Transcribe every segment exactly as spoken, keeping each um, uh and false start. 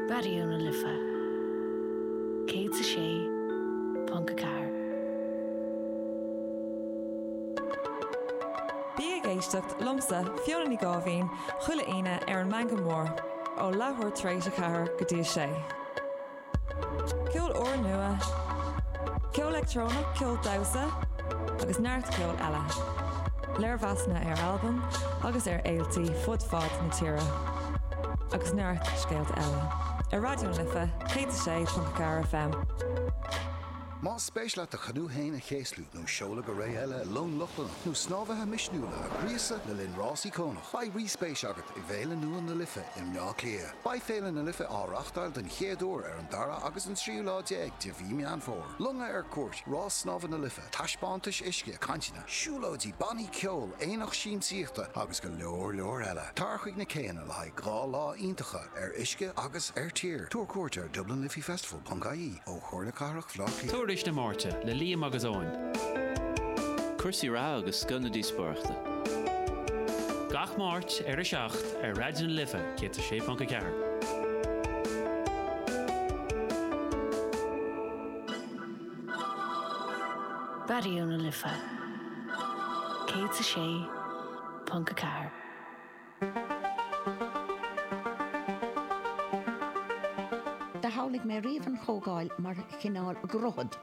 Raidió na Life céad a sé ponc a ceathair. Bí ag éisteacht liomsa Fiona Ní Gáibhín chuile Aoine ar an Meangadh Mór ó leathuair tar éis a ceathair go dtí a sé. Ceol úrnua, ceol leictreonach, ceol damhsa agus neart ceol eile. Léirmheasanna ar albaim agus ar fhéilte fud fad na tíre. Agus neart scéalta eile. Ar Raidió na Life céad a sé ponc ceathair FM. Más spéis leat do chanú féin a chéaslú nó seoladh go ré eile long Lochlannach nó snámhaithe misniúla a ghríosadh le linn rás icónach, beidh ríspéis agat i bhFéile nua na Life i mBleá Cliath. Beidh Féile na Life á reáchtáil den chéad uair ar an dara agus an tríú lá déag de mhí Meán Fómhair. Longa ar cuairt, rás snámha na Life, taispeántais uisce, cainteanna, siúlóidí, bannaí ceoil, aonach siamsaíochta agus go leor leor eile. Tar chuig na céanna le haghaidh dhá lá iontacha ar uisce agus ar tír. Tabhair cuairt ar DublinLiffeyFestival.ie ó Chomhairle Cathrach Bhaile Átha Cliath. Tuairisc na Máirte le Liam agus Eoin. Cúrsaí reatha agus scoth na díospóireachta. Gach Máirt ar a seacht ar Raidió na Life céad a sé ponc a ceathair. Raidió na Life céad a sé ponc a ceathair. Do shamhlaigh mé riamh an Chomhdháil mar chineál droichead.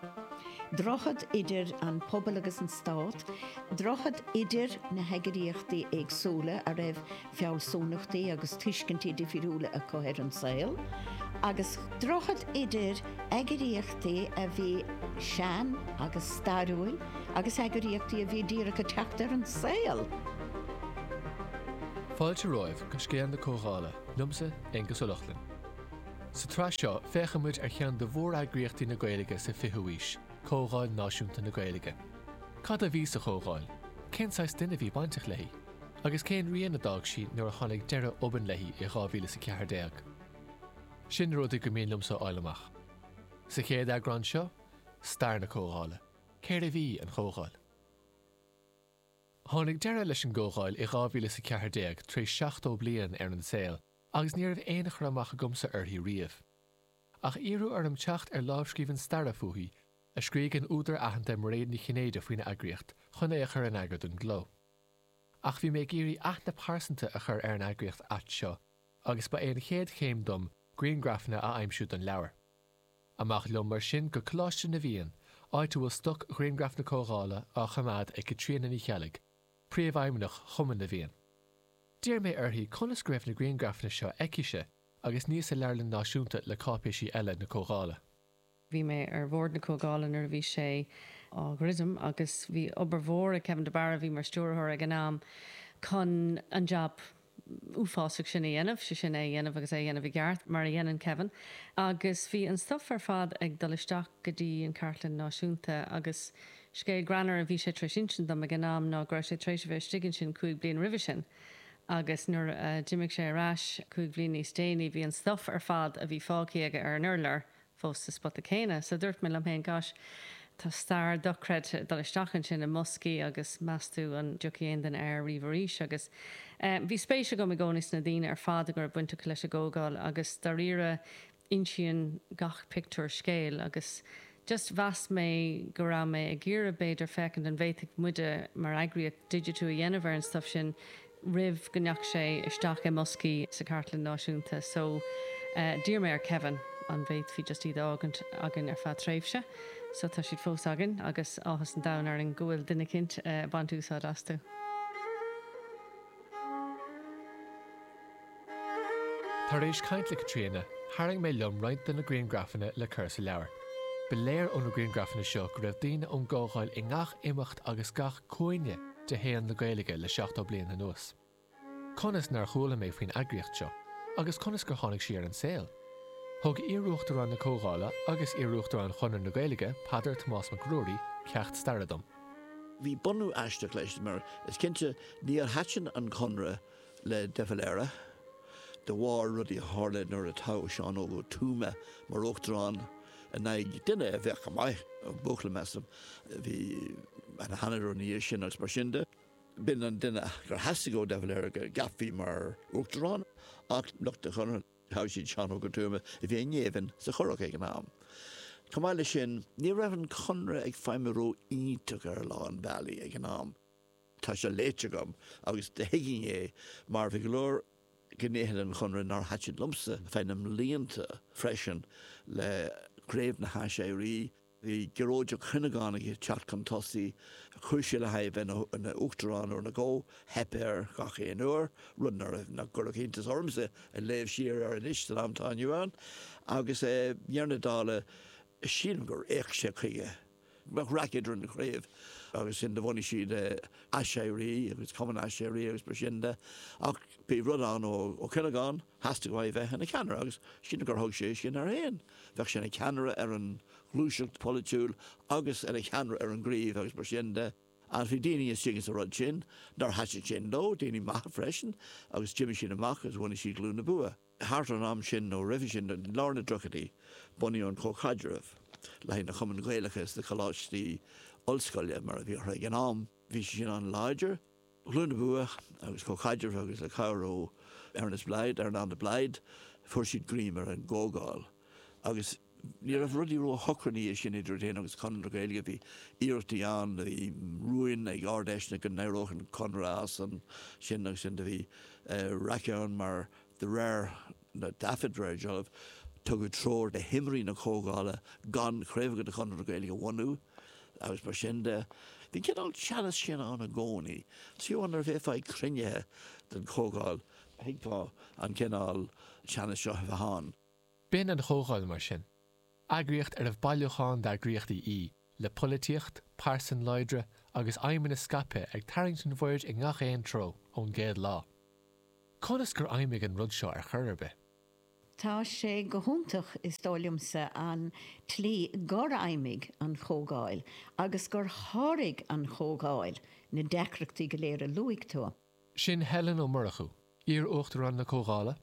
Droichead idir an pobal agus an stát, droichead idir na heagraíochtaí éagsúla a raibh fealsúnachtaí agus tuiscintí difriúla acu ar an saol, agus droichead idir eagraíochtaí a bhí sean agus stairiúil agus eagraíochtaí a bhí díreach ag teacht ar an saol. Fáilte romhaibh go Scéal na Comhdhála, liomsa Aengus Ó Lochlainn. Sa tsraith seo féachfaimid ar cheann de mhóreagraíochtaí na Gaeilge sa fichiú haois, Comhdháil Náisiúnta na Gaeilge. Cad a bhí sa Chomhdháil? Cén saghas duine a bhí bainteach léi? Agus cén rian a d'fhág sí nuair a tháinig deireadh obann léi i dhá mhíle is a ceathair déag? Sin na rudaí gur mian liomsa a fháil amach. Sa chéad eagrán seo, stair na Comhdhála. Céard a bhí an Chomhdháil? Tháinig deireadh leis an gComhdháil i dhá mhíle is a ceathair déag tar éis seachtó bliain ar an saol agus ní raibh aon chur amach agamsa uirthi riamh. Ach iarradh orm teacht ar lámhscríbhinn staire fúithi a scrígh an údar aitheanta Mairéad Ní Chinnéide faoin eagraíocht chun é a chur in eagar don gcló. Ach bhí mé ag iarraidh aithne pearsanta a chur ar an eagraíocht ait seo agus ba é an chéad chéim dom grianghrafanna a aimsiú don leabhar. Amach liom mar sin go Coláiste na bhFiann, áit a bhfuil stoc ghrianghraf na Comhdhála á choimeád ag Caitríona Ní Cheallaigh, príomhfheidhmeannach Chumann na bhFiann. D'iarr mé uirthi conas go raibh na grianghrafanna seo aicise agus ní sa Leabharlann Náisiúnta le cáipéisí eile na Comhdhála. Bhí mé ar bhord na Comhdhála nuair a bhí sé á dhruidim agus bhí obair mhór ag Kevin de Barra, a bhí mar stiúrthóir ag an am, chun an jab uafásach sin a dhéanamh, sé sin é a dhéanamh agus é a dhéanamh i gceart, mar a dhéanann Kevin. Agus bhí an stuif ar fad ag dul isteach go dtí an Chartlann Náisiúnta agus scéal greannmhar a bhí sé tar éis insint dom ag an am ná go raibh sé tar éis a bheith istigh ansin cúig bliain roimhe sin agus nuair a d'imigh sé ar ais cúig bhliain níos déanaí bhí an stuif ar fad a bhí fágtha aige ar an urlár fós sa spota céanna. So dúirt mé liom féin, gosh, tá stair dochreidte ag dul isteach ansin i mboscaí agus meas tú an dtiocfaidh aon duine air riamh arís agus eh bhí spéis agam i gcónaí sna daoine ar fad a raibh baint acu leis an gComhdháil agus dáiríre insíonn gach pictiúr scéal agus just mheas mé go raibh mé ag iarraidh b'fhéidir féachaint an bhféadfadh muide mar eagraíocht digitiú a dhéanamh ar an stuif sin roimh go ndeachaigh sé isteach i mboscaí sa Chartlann Náisiúnta so d'iarr mé ar Kevin an bhféadfaí just iad a fhágaint againn ar feadh tréimhse so tá siad fós againn agus áthas an domhain orainn go bhfuil duine eicínt ag baint úsáid astu. Tar éis caint le Caitríona, tharraing mé liom roinnt de na grianghrafanna le cur sa leabhar. Ba léir ó na grianghrafanna seo go raibh daoine ón gComhdháil i ngach imeacht agus gach cúinne de shaol na Gaeilge le seachtó bliain anuas. Conas nár chuala mé faoin eagraíocht seo? Agus conas gur tháinig sí ar an saol? Thug iar-uachtarán na Comhdhála agus iar-uachtarán Chonradh na Gaeilge, Peadar Tomás Mac Ruairí, ceacht staire dom. Bhí bunú aisteach leis mar is cinnte níor thaitin an Conradh le de Valera de bharr rudaí a tharla nuair a toghadh Seán Óg Ó Tuama mar uachtarán in aghaidh duine a bheadh go maith, buachaill measaim, a bhí ina sheanadóir ina dhiaidh sin agus mar sin de. B'in an duine gur theastaigh ó de Valera go gceapfaí mar uachtarán ach lucht an Chonartha Toghadh siad Seán Óg Ó Tuama a bhí i ngéibheann sa Churrach ag an am. Chomh maith leis sin, ní raibh an Conradh ag feidhmiú ró-iontach ar a lán bealaí ag an am. Tá sé léite agam agus do thuigfinn é mar bhí go leor gnéithe den Chonradh nár thaitin liomsa feadh na mblianta freisin le Craobh na hAiséirí. Bhí Gearóid Ó Cuinneagáin ag teacht chun tosaigh, chuir sé le haghaidh a bheith ina uachtarán uair nó dhó, theip air gach aon uair, rud nach gcuirfeadh iontas ormsa ag léamh siar air anois san am atá inniu ann. Agus i ndeireadh na dála, sílim gur fhéach sé chuige. Bheadh raic idir an chraobh agus sin do bhunaigh siad Aiséirí agus Cumann Aiséirí agus mar sin de ach bhí rud ann ó Ó Cuinneagáin, theastaigh uaidh bheith ina cheannaire agus sílim gur thug sé sin air féin. Bheadh sé ina cheannaire ar an ghluaiseacht pholaitiúil agus ina cheannaire ar an gcraobh agus mar sin de. Agus bhí daoine istigh sa rud sin nár thaitin sin leo, daoine maithe freisin, agus d'imigh siad amach agus bhunaigh siad Glúin na Bua. Thart ar an am sin nó roimhe sin, i lár na dtríochaidí, bunaíodh an Comhchaidreamh le haghaidh na Chumainn Ghaelacha sna coláistí ollscoile, mar a bhí orthu ag an am. Bhí sé sin an-láidir. Glúin na Bua agus Comhchaidreamh agus le cabhair ó Ernest Blythe, Earnán de Blaghd, fuair siad greim ar an gComhdháil agus ní raibh rudaí ró-shocair ina dhiaidh sin idir iad féin agus Conradh na Gaeilge. Bhí iarrachtaí ann, bhí rúin ag Ard-Fheiseanna go n-éireodh an Conradh as ansin agus sin. Do bhí raic ann mar de réir na dtaifead, de réir dealraimh, tugadh treoir do thimirí na Comhdhála gan craobhacha de Chonradh na Gaeilge a bhunú agus mar sin de. Bhí an cineál teannas sin ann i gcónaí. Fiú amháin nuair a bheifeá ag cruinnithe den Chomhdháil, thuigfeá an cineál teannas seo a bheith ann. B'in an Chomhdháil, mar sin. Eagraíocht arbh bailiúchán d'eagraíochtaí í, le polaitíocht, pearsain láidre agus aidhmeanna scaipthe ag tarraingt an bhoird i ngach aon treo ón gcéad lá. Conas gur fheidhmigh an rud seo ar chor ar bith? Tá sé go hiontach, is dóigh liomsa, an tslí gur fheidhmigh an Chomhdháil agus gur sháraigh an Chomhdháil na deacrachtaí go léir a luaigh tú. Sin Helen Ó Murchú, iar-Uachtarán na Comhdhála,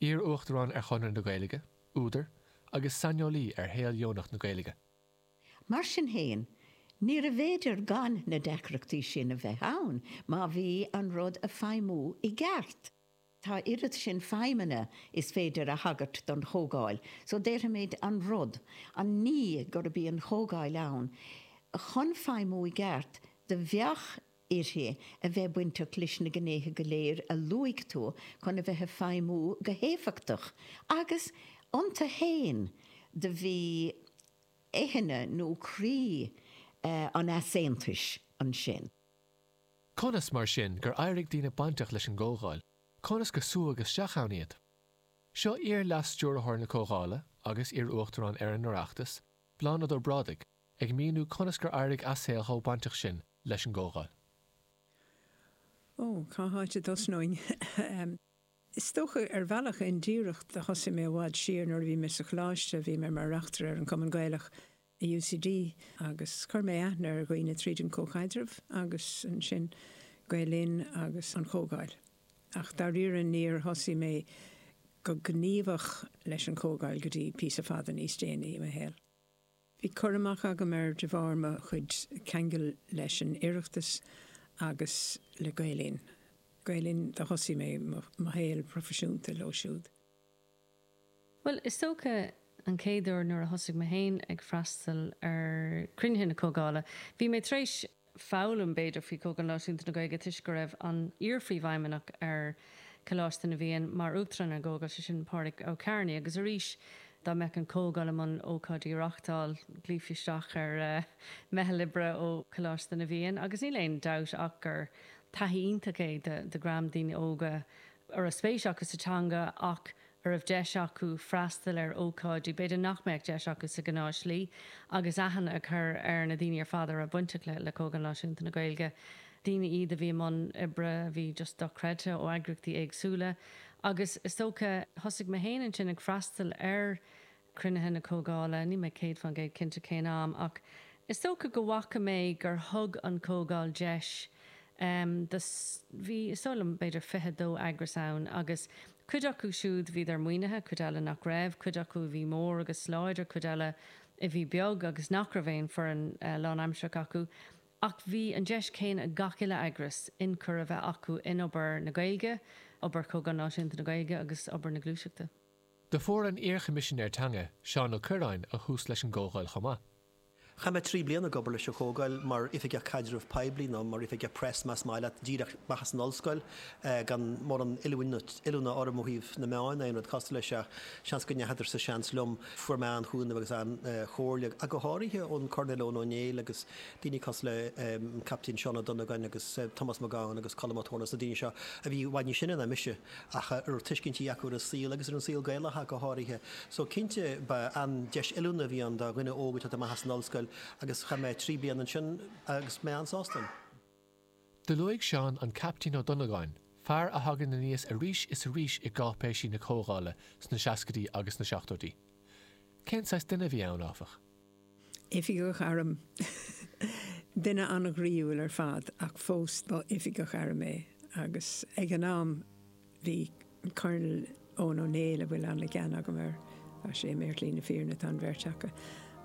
iar-Uachtarán ar Chonradh na Gaeilge, údar, agus saineolaí ar shaol dheonach na Gaeilge. Mar sin féin, níorbh fhéidir gan na deacrachtaí sin a bheith ann má bhí an rud a feidhmiú i gceart. Tá oiread sin feidhmeanna is féidir a thagairt don Chomhdháil so déarfaimid an rud, an ní gurb í an Chomhdháil ann chun feidhmiú i gceart do bheadh uirthi a bheith bainteach leis na gnéithe go léir a luaigh tú chun a bheith ag feidhmiú go héifeachtach agus iontu fhéin do bhí éithne nó croí an easaontais ansin. Conas, mar sin, gur éirigh daoine bainteach leis an gComhdháil? Conas gur súdh isteach ann iad? Seo iar-Leas-Stiúrthóir na Comhdhála agus iar-Uachtarán ar an Oireachtas, Bláthnaid Ó Brádaigh, ag míniú conas gur éirigh assail chomh bainteach sin leis an gComhdháil. Ó, cá háit a dtosnóinn? Is dócha, ar bhealach indíreach, do thosaigh mé i bhfad siar nuair a bhí mé sa choláiste, bhí mé mar reachtaire ar an Chumann Gaelach i UCD agus chuir mé aithne ar dhaoine tríd an Comhchaidreamh agus ansin Gael Linn agus an Chomhdháil. Ach dáiríre níor thosaigh mé go gníomhach leis an Chomhdháil go dtí píosa fada níos déanaí i mo shaol. Bhí cur amach agam air de bharr mo chuid ceangal leis an Oireachtas agus le Gael Linn. Gael Linn, do thosaigh mé mo shaol proifisiúnta leo siúd. Bhuel, is dócha an chéad uair nuair a thosaigh mé féin ag freastal ar chruinnithe na Comhdhála, bhí mé tar éis foghlaim, b'fhéidir, faoi Chomhdháil Náisiúnta na Gaeilge toisc go raibh an iar-phríomhfheidhmeannach ar Choláiste na bhFiann mar Uachtarán ar an gComhdháil, sé sin Pádraig Ó Cearnaigh, agus arís dá mbeadh an Chomhdháil i mbun ócáidí a reáchtáil, ghlaofaí isteach ar mheitheal oibre ó Choláiste na bhFiann agus níl aon dabht ach gur taithí iontach é do dhream daoine óga a raibh spéis acu sa teanga ach a raibh deis acu freastal ar ócáidí b'fhéidir nach mbeadh deis acu sa ghnáthshlí agus aithne a chur ar na daoine ar fad a raibh bainteach le Comhdháil Náisiúnta na Gaeilge. Daoine iad a bhí i mbun oibre a bhí just dochreidte ó eagraíochtaí éagsúla agus is dócha thosaigh mé féin ansin ag freastal ar chruinnithe na Comhdhála, níl mé céad faoin gcéad cinnte cén am ach is dócha go bhfaca mé gur thug an Chomhdháil deis do, bhí is dóigh liom b'fhéidir fiche dó eagras ann agus cuid acu siúd bhíodar maoinithe, cuid eile nach raibh, cuid acu a bhí mór agus láidir, cuid eile a bhí beag agus nach raibh aon foireann lánaimsearach acu. Ach bhí an deis chéanna ag gach uile eagras ionchur a bheith acu in obair na Gaeilge, obair Chomhdháil Náisiúnta na Gaeilge agus obair na gluaiseachta. Do fuair an iar-Choimisinéir Teanga, Seán Ó Cuirreáin, a thús leis an gComhdháil chomh maith. Chaith mé trí bliana ag obair leis an Chomhdháil mar oifigeach caidreamh poiblí nó mar oifigeach press más maith leat, díreach amach as an ollscoil, gan mórán oiliúna orm ó thaobh na meáin aon rud cosúil leis ach seans go ndeachadar sa seans liom. Fuair mé an-chúnamh agus an-chomhairle, ach go háirithe ón Coirnéal Eoin Ó Néill agus daoine cosúil le an Captaen Seán Ó Donnagáin agus Tomás Mac Gabhann agus Colm Ó Torna agus na daoine seo a bhí i bhfad níos sine ná mise ach a raibh tuiscintí acu ar an saol agus ar an saol Gaelach ach go háirithe. So cinnte ba an-deis oiliúna a bhí ann do dhuine óg ag teacht amach as an ollscoil agus chaith mé trí bliana ansin agus mé an-sásta ann. Do luaigh Seán an Captaen Ó Donnagáin, fear a thagann aníos arís is arís i gcáipéisí na Comhdhála sna seascaidí agus sna seachtóidí. Cén saghas duine a bhí ann, áfach? Oifigeach airm. Duine an-ghroíúil ar fad ach fós ba oifigeach airm é agus ag an am bhí an Colonel Eoin Ó Néill a bhfuil an-ghean agam air, tá sé imithe ar shlí na fírinne tá an bheirt acu,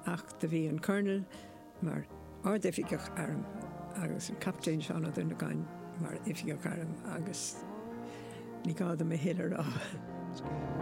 ach do bhí an Colonel mar ardoifigeach airm agus an Captaen Seán Ó Donnagáin mar oifigeach airm agus ní gá dom a thuilleadh a rá.